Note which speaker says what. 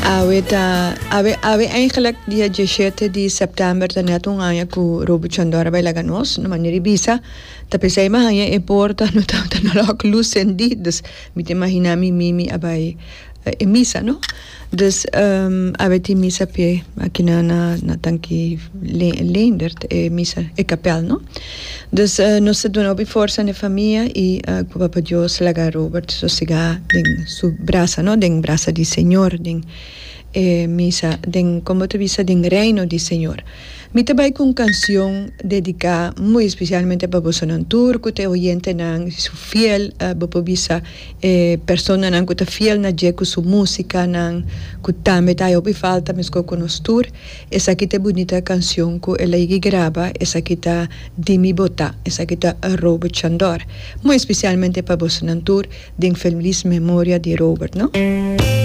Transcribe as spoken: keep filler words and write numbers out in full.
Speaker 1: Awe ta awe awe eigenlijk dia diesshete di sèptèmber ta nèt un aña ku Robert Chandor a bai laga nos, na manera di bisa ta p'esei mi a haña e porta no tabata no lòk lus sendí, dus mi ta imaginá mi mimi a bai e misa no. Dus awe tin misa p'e aki na na na Tanki Leendert e misa e kapèl no. Dus nos ta duna hopi forsa na e famia i ku Papa Dios laga Robert sosegá den su brasa no, den brasa di Señor, den e misa den komo ta bisa den reino di Señor. Mi ta bai ku un kansion dediká muy espesialmente pa bosonan tur ku ta e oyentenan su fiel, bo por bisa e personanan ku ta fiel na dje ku su musikanan ku tambe ta hay hopi falta meskos ku nos tur. Esaki ta e bunita kansion ku el a yegi graba, esaki ta Di mi bo ta, esaki ta Robert Chandor. Muy espesialmente pa bosonan tur den felis memoria di Robert no.